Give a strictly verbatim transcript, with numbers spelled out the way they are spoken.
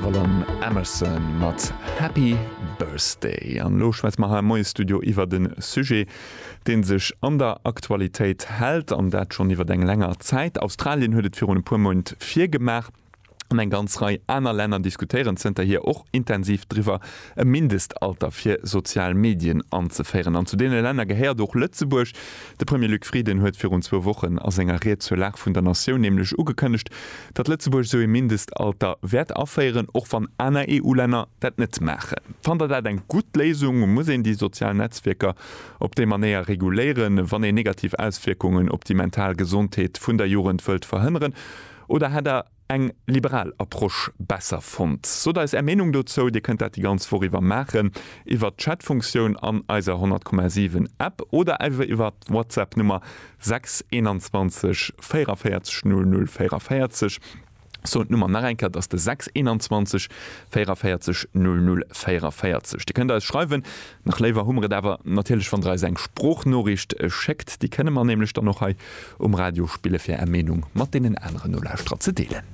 Avalon Emerson mat Happy Birthday. An elo schwätze mer hei am Moie-Studio iwwert e Sujet, dee sech an der Aktualitéit hält, an dat schonn iwwert eng länger Zäit. Australien huet et virun e puer Mount virgemaach. An eng ganz Rei aner Länner diskutéieren zënterhier och intensiv driwwer, e Mindestalter fir sozial Medien anzeféieren. An zu deene Länner gehéiert och Lëtzebuerg. De Premier Luc Frieden huet virun zwou Wochen a senger Ried zur Lag vun der Natioun nämlech ugekënnegt, datt Lëtzebuerg esou ee Mindestalter wäert aféieren, och wann aner E U-Länner dat net maachen. Fannt Der dat eng gutt Léisung? Muss een déi sozial Netzwierker op déi Manéier reguléieren, wann een negativ Auswierkungen op déi mental Gesondheet vun der Jugend wëllt verhënneren? Oder hätt Der eng liberal Approche besser fonnt? Sot eis Är Meenung dozou. Dir kënnt dat déi ganz Woch iwwer maachen iwwer d'Chat-Funktioun an eiser honnert Komma siwen App oder awer iwwer d'WhatsApp-Nummer sechs eenanzwanzeg véierunvéierzeg null null véierunvéierzeg. Soen d'Nummer nach eng Kéier, et ass de sechs eenanzwanzeg véierunvéierzeg null null véierunvéierzeg. Dir kënnt eis schreiwen, nach léiwer hu mer et awer natierlech, wann der eis eng Sproochnoriicht schéckt. Déi kënne mer nämlech dann och hei um Radio spille fir Är Meenung mat deenen aneren Nolauschterer ze deelen.